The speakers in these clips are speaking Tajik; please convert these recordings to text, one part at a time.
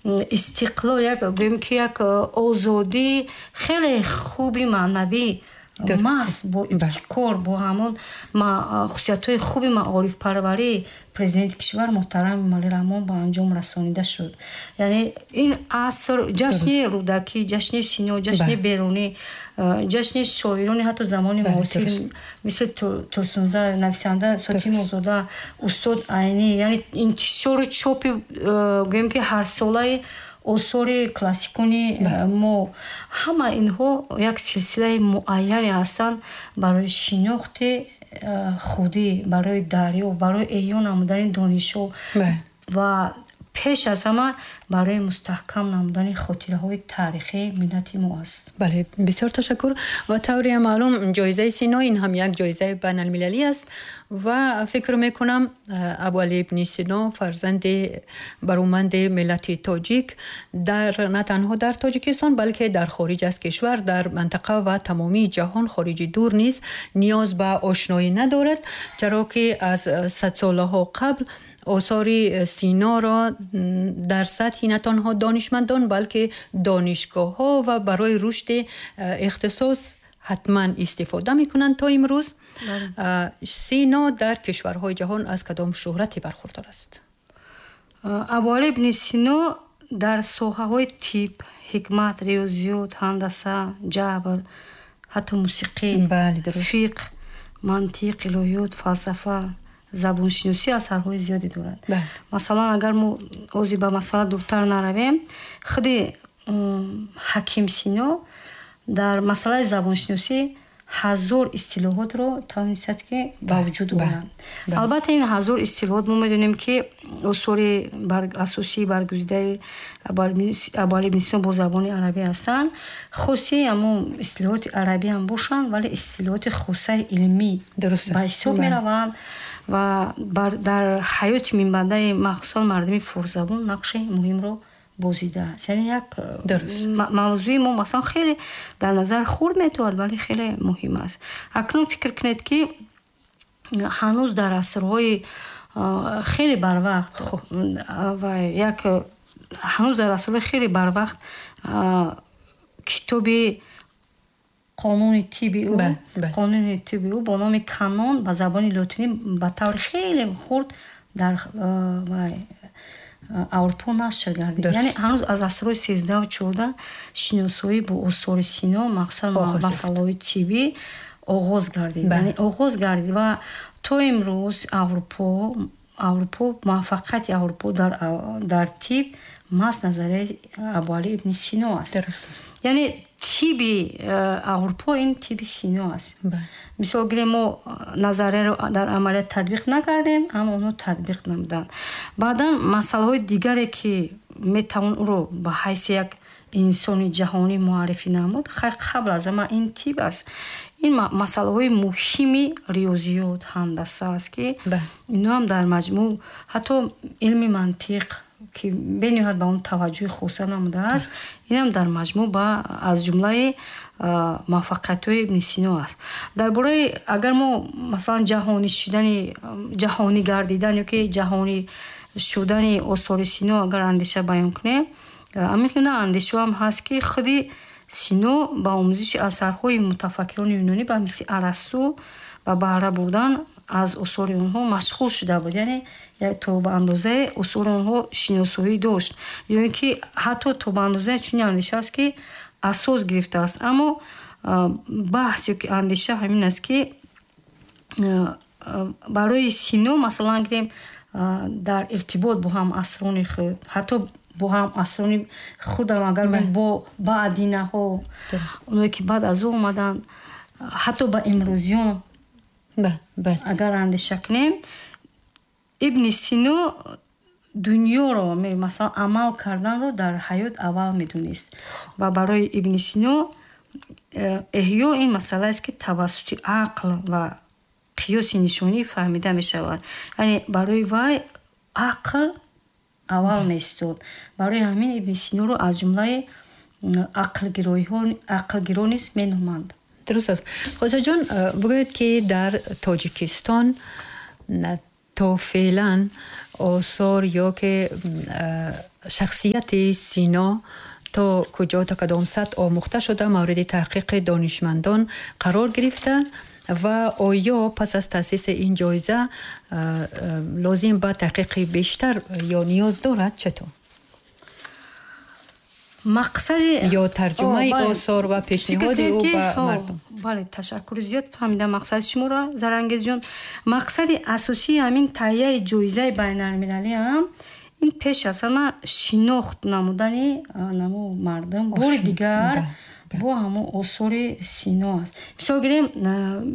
Истиқлол, як гӯем ки як озодии хеле хуби маънавӣ, маҳз бо ибтикор, бо ҳамон хусусиятҳои хуби маорифпарварии президенти кишвар муҳтарам Эмомалӣ Раҳмон ба анҷом расонида шуд. Яъне ин аср ҷашни Рӯдакӣ, ҷашни Сино, ҷашни Берунӣ, ҷашни шоирони ҳатто замони муосир, мисли Турсунзода, нависанда Сотимозода, устод Айнӣ, яъне интишору чопи, гӯем ки ҳарсолаи осори классикони мо, ҳама инҳо як силсилаи муайяне ҳастанд барои шинохти худӣ, барои дарёфт, барои эҳё намудани донишҳо ва пеш аз ҳама барои мустаҳкам намудани хотираҳои таърихии миллати мо аст. Бале, бисёр ташаккур. Ва тавре маълум, ҷоизаи Сино ин ҳам як ҷоизаи байналмилалӣ аст ва фикр мекунам, Абуалӣ ибни Сино, фарзанди бароманди миллати тоҷик, дар на танҳо дар Тоҷикистон, балки дар хориҷ аз кишвар, дар мантақа ва тамомии ҷаҳон, хориҷи дур низ ниёз ба ошноӣ надорад, чаро ки аз садсолаҳо қабл осори Синоро дар сатҳи на танҳо донишмандон, балки донишгоҳҳо ва барои рушди ихтисос ҳатман истифода мекунанд то имрӯз. Сино дар кишварҳои ҷаҳон аз кадом шӯҳрате бархурдор аст? Абуалӣ ибни Сино дар соҳаҳои тиб, ҳикмат, риёзиёт, ҳандаса, ҷабр, ҳатто мусиқӣ, фиқҳ, мантиқ, илоҳиёт, фалсафа, забоншиносӣ асарҳои зиёде дорад. Масалан, агар мо ҳозир ба масъала дуртар наравем, худи Ҳаким Сино дар масъалаи забоншиносӣ 1000 истилоҳотро тавонистад, ки ба вуҷуд орад. Албатта, ин 1000 истилоҳот, мо медонем, ки осори асосии баргузидаи Абуалӣ ибни Сино бо забони арабӣ ҳастанд. Хоси ҳамон истилоҳоти арабӣ ҳам бошанд, вале истилоҳоти хосаи илмӣ ба ҳисоб мераванд ва дар ҳаёти минбаъдаи махсусан мардуми форсзабон нақши муҳимро бозидааст. Яъне як мавзӯи мо, масалан, хеле дар назар хурд метавад, вале хеле муҳим аст. Акнун фикр кунед, ки ҳанӯз дар асрҳои хеле барвақт ва як ҳанӯз дар асрҳои хеле барвақт китоби қонуни тиби ӯ, қонуни тиби ӯ бо номи Канон ба забони лотинӣ ба таври хеле хурд дар Аврупо нашр гардид. Яъне ҳанӯз аз асрҳои 13-у 14 шиносоӣ бо осори Сино, махсусан масъалаҳои тиббӣ, оғоз гардид, яъне оғоз гардид ва то имрӯз Аврупо, муваффақияти Аврупо дар тиб маҳз назарияи Абуалӣ ибни Сино аст. Яъне тиби Аврупо ин тиби Сино аст. Мисол гирем, мо назарияро дар амалият татбиқ накардем, аммо онҳо татбиқ намуданд. Баъдан масъалаҳои дигаре, ки метавон ӯро ба ҳайси як инсони ҷаҳонӣ муаррифӣ намуд, хайр, қабл аз ҳама ин тиб аст, ин масъалаҳои муҳими риёзиёт, ҳандаса аст, ки инҳоам дар маҷмӯъ, ҳатто илми мантиқ, ки бениҳоят ба он таваҷҷӯҳи хоса намудааст, инам дар маҷмӯъ ба аз ҷумлаи муваффақиятҳои ибни Сино аст. Дар бораи агар мо, масалан, ҷаҳонӣ шудани, ҷаҳонӣ гардидан ё ки ҷаҳонӣ шудани осори Сино агар андеша баён кунем, ҳамин андешаҳам ҳаст, ки худи Сино ба омӯзиши асарҳои мутафаккирони юнонӣ ба мисли Арасту ва баҳра бурдан аз осори онҳо машғул шуда буд, яъне то ба андозаи осори онҳо шиносоӣ дошт, ё ин ки ҳатто то ба андозаи чунин андеша аст, ки асос гирифтааст. Аммо баҳс ё ки андеша ҳамин аст, ки барои Сино, масалан гирем, дар иртибот бо ҳамасрони худ, ҳатто бо ҳамасрони худам, агар бо баъдинаҳо, оное ки баъд аз ӯ омаданд, ҳатто ба имрӯзиён агар андеша кунем, Ибни Сино дунёро, масалан, амал карданро дар ҳаёт аввал медонист ва барои Ибни Сино эҳё ин масъалаест, ки тавассути ақл ва қиёси нишонӣ фаҳмида мешавад. Яъне барои вай ақл аввал меистод. Барои ҳамин Ибни Синоро аз ҷумлаи ақлгиро низ меноманд. Дуруст аст. Хосаҷон, бигӯед, ки дар Тоҷикистон то феълан осор ё ки Шахсияти Сино то куҷо, то кадом сатҳ омӯхта шуда, мавриди таҳқиқи донишмандон қарор гирифта ва оё пас аз таъсиси ин ҷоиза лозим ба таҳқиқи бештар ё ниёз дорад, чатур? Мақсади ё тарҷумаи осор ва пешниҳоди ӯ ба мардум. Бале, ташаккури зиёд, фаҳмидам мақсади шуморо, Зарангезҷон. Мақсади асосии ҳамин таҳияи ҷоизаи байналмилалӣ ҳам ин пеш аз ҳама шинохт намудани намо мардум бори дигар бо ҳамон осори Сино аст. Мисол гирем,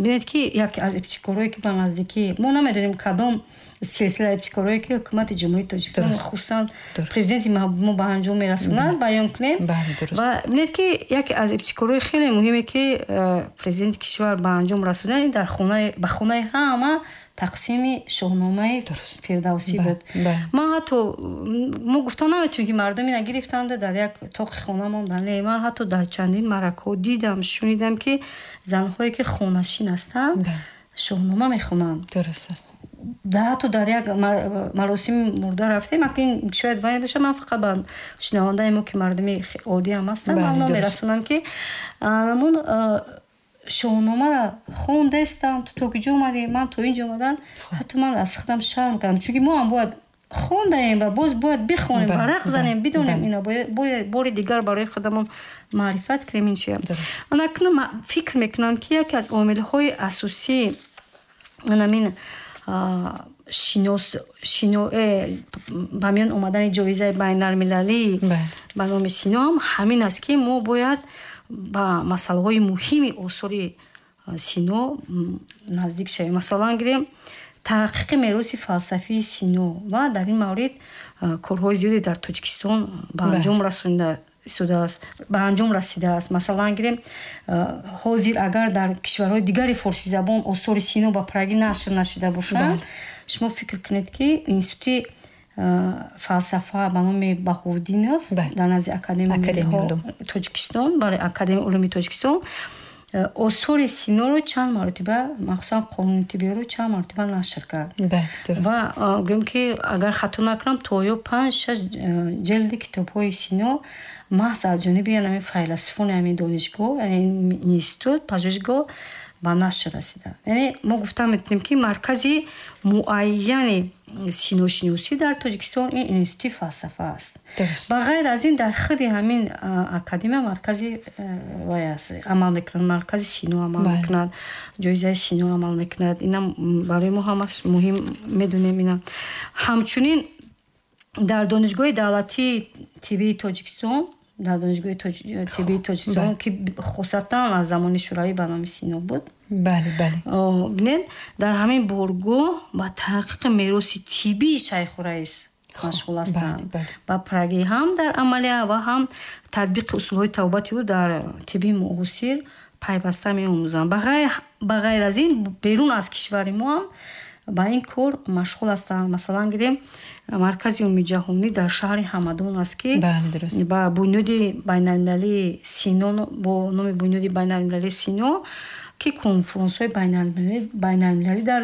бинед, ки яке аз ибтикорҳое, ки ба наздикӣ, мо намедонем кадом силсила ибтикорҳое, ки ҳукумати Ҷумҳурии Тоҷикистон, хусусан президенти мо ба анҷом мерасонад, баён кунем. Ва бинед, ки яке аз ибтикорҳои хеле муҳиме, ки президенти кишвар ба анҷом расонад, ин дар ба хонаи ҳама тақсими Шоҳномаи Фирдавсӣ буд. Ман ҳатто, мо гуфта наметавонем, ки мардум ина гирифтанда дар як тоқи хона мондан. Не, ман ҳатто дар чандин маъракаҳо дидам, шунидам, ки занҳое, ки хонашин ҳастанд, Шоҳнома мехонанд. Дуруст аст. Ҳатто дар як маросими мурда рафтем, акин шояд вай боша, ман фақат ба шунавандаи мо, ки мардуми оддӣ ҳам ҳастанд, маълум мерасонам, ки ҳамон Шоҳномаро хондестам, ту то куҷо омадӣ, ман то инҷо омадам. Ҳатто ман аз худам шарм кардам, чунки мо ҳам бояд хондаем ва боз бояд бихонем, варақ занем, бидонем, ина бори дигар барои худамон маърифат кунем, ин чия. Ман акнун фикр мекунам, ки яке аз омилҳои асосии анамин шинос шино ба миён омадани ҷоизаи байналмилалӣ ба номи Сино ҳам ҳамин аст, ки мо бояд ба масъалаҳои муҳими осори Сино наздик шавем. Масалан гирем, таҳқиқи мероси фалсафии Сино, ва дар ин маврид корҳои зиёде дар Тоҷикистон ба анҷом расонида истодааст, ба анҷом расидааст. Масалан гирем, ҳозир агар дар кишварҳои дигари форсизабон осори Сино ба пуррагӣ нашр нашида бошанд, шумо фикр кунед, ки Институти фалсафа ба номи Баҳовуддинов дар назди Академияи Тоҷикистон, бале, Академияи улуми Тоҷикистон осори Синоро чанд маротиба, махсусан Қонуни тиббиёро чанд маротиба нашр кард. Ва гӯем, ки агар хато накунам, то ё панҷ шаш ҷилди китобҳои Сино маҳз аз ҷониби ҳамин файласуфони ҳамин донишгоҳ, яъне институт, пажӯҳишгоҳ ба нашр расида. Яъне мо гуфта метавонем, ки маркази муайяни синошиносӣ дар Тоҷикистон ин Институти фалсафа аст. Ба ғайр аз ин, дар худи ҳамин академия маркази вай аст, амал мекунад, маркази Сино амал мекунад, ҷоизаи Сино амал мекунад. Инам барои мо ҳамаш муҳим медонем. Ина ҳамчунин дар Донишгоҳи давлатии тиббии Тоҷикистон, дар Донишгоҳи тиббии Тоҷикистон, ки хусусатан аз замони Шӯравӣ ба номи Сино буд, бале бале бинед, дар ҳамин боргоҳ ба таҳқиқи мероси тиббии Шайхураис машғул ҳастанд, ба пуррагӣ ҳам дар амалия ва ҳам татбиқи усулҳои табобати ӯ дар тибби муосир пайваста меомӯзанд. Ба ғайр аз ин, берун аз кишвари мо ҳам ба ин кор машғул ҳастанд. Масалан гирем, маркази умумиҷаҳонӣ дар шаҳри Ҳамадон аст, ки ба бунёди байналмилалии Сино, бо номи Бунёди байналмилалии Сино, ки конфронсҳои байналмилалӣ дар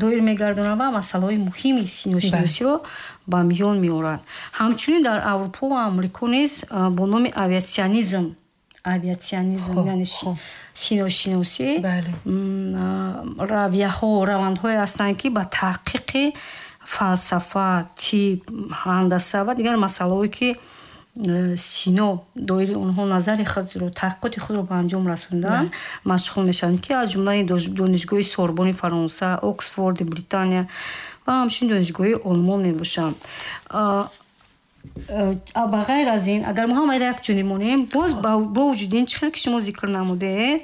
доир мегардонад ва масъалаҳои муҳими синошиносиро ба миён меорад. Ҳамчунин дар Аврупо ва Амрико низ бо номи авиатсионизм, авиатсионизм, яъне синошиносӣ, равияҳо, равандҳое ҳастанд, ки ба таҳқиқи фалсафа, тиб, ҳандаса ва дигар масъалаҳое, ки Сино доири онҳо назари худро, таҳқиқоти худро ба анҷом расонданд, машғул мешаванд, ки аз ҷумлаи Донишгоҳи Сорбони Фаронса, Оксфорди Британия ва ҳамчунин донишгоҳи Олмон мебошанд. Ба ғайр аз ин, агар мо ҳамаро якҷониб монем, боз бо вуҷуди ин, чӣ хел ки шумо зикр намудед,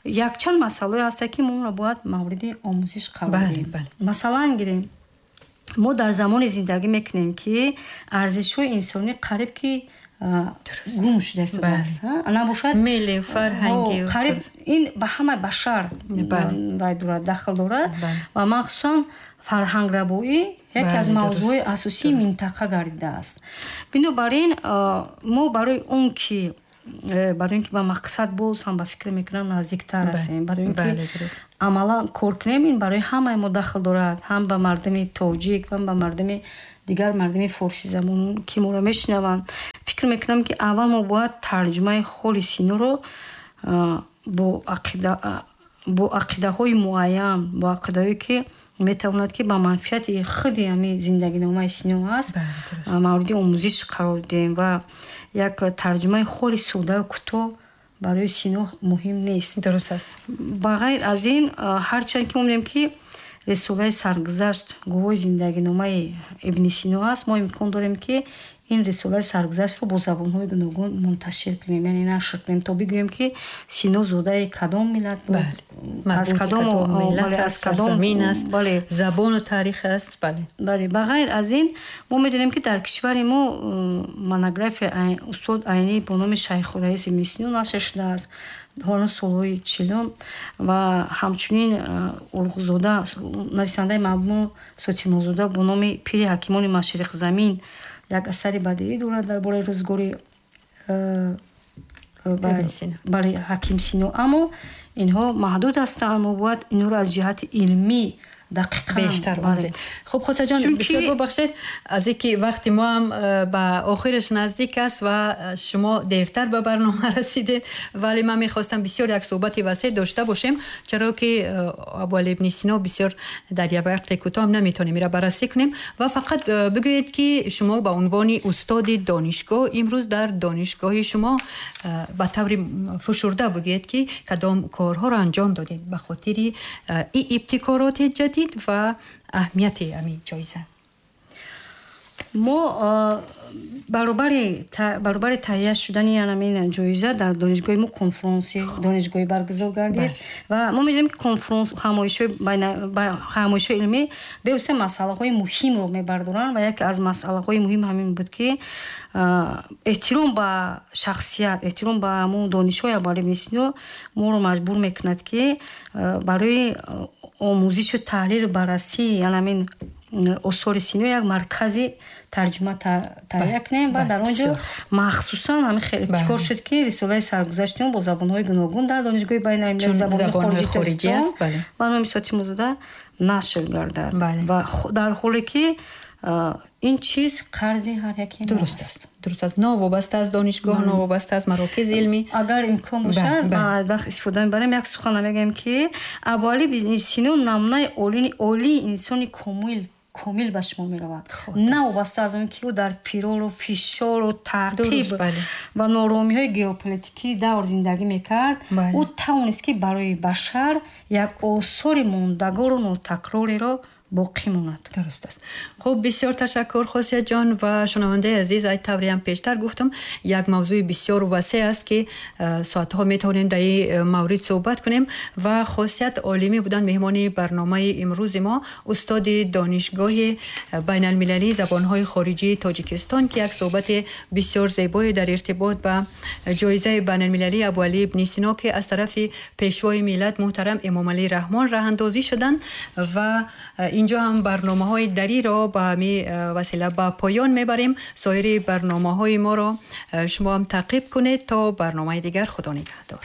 якчанд масъалаое ҳастанд, ки мо онро бояд мавриди омӯзиш қарор диҳем. Масалан гирем, мо дар замоне зиндагӣ мекунем, ки арзишҳои инсонӣ қариб ки гум шуда истодааст, набошад. Милли, фарҳангӣ. Қариб ин ба ҳамаи башар вай дорад, дахл дорад, ва махсусан фарҳанграбоӣ яке аз мавзӯъҳои асосии минтақа гардидааст. Бинобар ин, мо барои он ки ба мақсад боз ҳам, ба фикр мекунам, наздиктар ҳастем, барои он ки амалан кор кунем, ин барои ҳамаи мо дахл дорад, ҳам ба мардуми тоҷик, ҳам ба мардуми Дигар мардуми форсизабон, ки моро мешунаванд, фикр мекунам, ки аввал мо бояд тарҷумаи ҳоли Синоро бо ақидаҳои муайян, бо ақидаҳое, ки метавонад, ки ба манфиати худи ҳами зиндагиномаи Сино аст, мавриди омӯзиш қарор диҳем ва як тарҷумаи холи соддаю кӯтоҳ барои Сино муҳим нест. Дуруст аст. Ба ғайр аз ин, ҳарчанд ки мо мебинем, ки рисолаи саргузашт гувоҳи зиндагиномаи Ибни Сино аст, мо имкон дорем, ки ин рисолаи саргузаштро бо забонҳои гуногун мунташир кунем, яъне нашр кунем, то бигӯем, ки Сино зодаи кадом миллат буд, аз кадом замин аст, забону таърих аст, бале. Бале, ба ғайр аз ин, мо медонем, ки дар кишвари мо монография устод Айнӣ бо номи Шайхураис Ибни Сино нашр шудааст ҳоло солҳои 40-ум ва ҳамчунин Урғузода, нависандаи маъмул Сотимозода бо номи Пири ҳакимони машриқзамин як асари бадеӣ дорад дар бораи рӯзгори, бале, ҳаким Сино. Аммо инҳо маҳдуд ҳастанд, мо бояд инҳоро аз ҷиҳати илмӣ дақиқан Бештар омӯзем. Хуб, Хосиятҷон, бисёр бубахшед, аз ин ки вақти мо ҳам ба охираш наздик аст ва шумо дертар ба барнома расидед, вале ман мехостам бисёр як суҳбати васеъ дошта бошем, чаро ки Абуалӣ ибни Сино бисёр дар як вақти кӯтоҳ наметавонем ира баррасӣ кунем. Ва фақат бигӯед, ки шумо ба унвони устоди донишгоҳ имрӯз дар донишгоҳи шумо ба таври фушурда бигӯед, ки кадом корҳоро анҷом додед ба хотири ибтикороти ҷадид ва аҳамияти ҳамин ҷоиза. Мо баробари таҳия шудани ҳамин ҷоиза дар донишгоҳи мо конфронси донишгоҳӣ баргузор гардид ва мо медонем, ки конфронс, ҳамоишҳои илмӣ бевосита масъалаҳои муҳимро мебардоранд ва яке аз масъалаҳои муҳим ҳамин буд, ки эҳтиром ба шахсият, эҳтиром ба ҳамон донишҳои Абуалӣ ибни Сино моро маҷбур мекунад, ки барои омӯзишу таҳлилу баррасии ҳамин осори Сино як маркази тарҷума таҳия кунем ва дар он ҷо махсусан ҳамин хел ибтикор шуд, ки рисолаи саргузашти он бо забонҳои гуногун дар Донишгоҳи байналмилалии забонҳои хориҷии Тоҷикистон ба номи Сотимозода нашр гардад ва дар ҳоле ки ин чиз қарзи ҳар яке Дуруст аст, дуруст аст, новобаста аз донишгоҳ, новобаста аз марокизи илмӣ. Агар имкон бошад, ман вақт истифода мебарам, як сухан мегӯям, ки Абуалӣ ибни Сино намунаи олии инсони комил ба шумо меравад, новобаста аз он ки ӯ дар фирору фишору таъқиб ва нооромиҳои геополитикии давр зиндагӣ мекард, ӯ тавонист, ки барои башар як осори мондагору нотакрореро боқӣ монад. Дуруст аст. Хуб, бисёр ташаккур, Хосиятҷон. Ва шунавандаи азиз, ай тавре ҳам пештар гуфтам, як мавзӯи бисёр васеъ аст, ки соатҳо метавонем дар ин маврид суҳбат кунем. Ва Хосият Олимӣ буданд меҳмони барномаи имрӯзи мо, устоди Донишгоҳи байналмилалии забонҳои хориҷии Тоҷикистон, ки як суҳбати бисёр зебое дар иртибот ба ҷоизаи байналмилалии Абуалӣ ибни Сино, ки аз тарафи Пешвои миллат муҳтарам Эмомалӣ Раҳмон роҳандозӣ шуданд. Ва инҷо ҳам барномаҳои дариро ба ҳамин васила ба поён мебарем. Соири барномаҳои моро шумо ҳам таъқиб кунед. То барномаи дигар, Худо нигаҳдор.